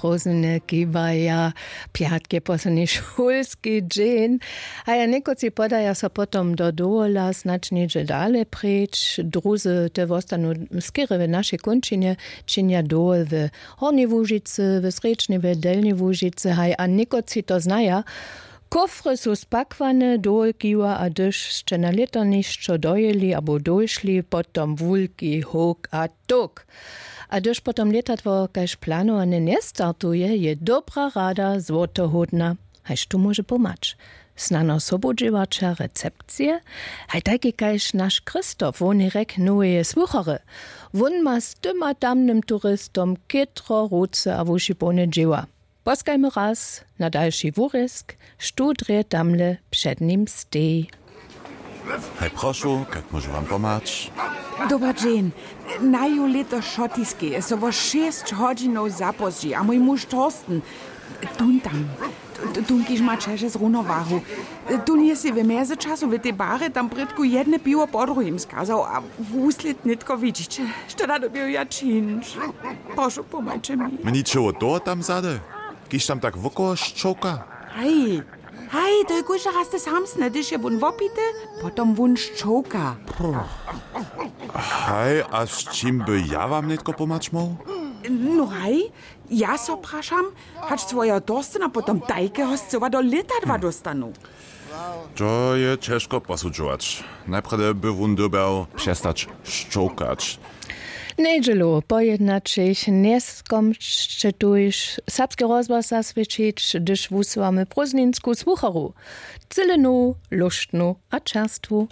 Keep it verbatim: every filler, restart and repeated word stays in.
Prózdniny kiwaja. Pjatk je posledni šulski dźeń. A ja někotři podaja so potom do dowola, snadź něhdźe dale preč. Druzy te wostanu skerje w našej kónčinje, činja dowol w Hornjej Łužicy, w Srjedźnej, w Delnjej Łužicy, haj, a někotři to znaja. Kofry su spakłane, dowol kiwa, a hdyž sće na lětarnišćo dojěli abo dóšli, potom wulki howk a towk. A hdyž potom lětadło kaž planowane njestartuje, je dobra rada złotohódna. Haj, štó móže pomhać? Snano sobudźěłaća recepcije? Haj, tajki kaž naš Christoph, wón je rjek noweje słuchary. Wón ma z tym a tamnym turistom chětro ruce a wuši połne dźěła. Poskajmy raz na dalši wurězk, štó drje tamle před nim steji. Haj, prošu, kak móžu wam pomhać? Dober dźeń. Naju lěto šotiskej je so wo šěsć hodźinow zapózdźi a mój muž Thorsten, tón tam, t-, tón, kiž ma ćeže z runowahu, tón je sej w mjezyčasu w tej barje tam prědku jedne piwo po druhim skazał a wuslěd nětko widźić. Što da doběju ja čińć? Prošu, pomhajće mi. Mničeło toho tam zady, kiž tam tak wokoło šćołka? Haj, haj, to je kóždy raz te samsne, hdyž je wón wopity, potom wón šćołka. Haj, a z čim by ja wam nětko pomhać móhł? No haj, ja so prašam, hač swojeho Thorstena potom tajkeho scyła do lětadła dóstanu. To je ćežko posudźować. Najprjedy by wón dyrbjał přestać šćołkać. Njedźelu po jednaćich njeskomšće tuž serbski rozhłos zaswědčić, hdyž wusłamy prózdninsku słucharu. Cyle nowu, lóštnu a čerstwu.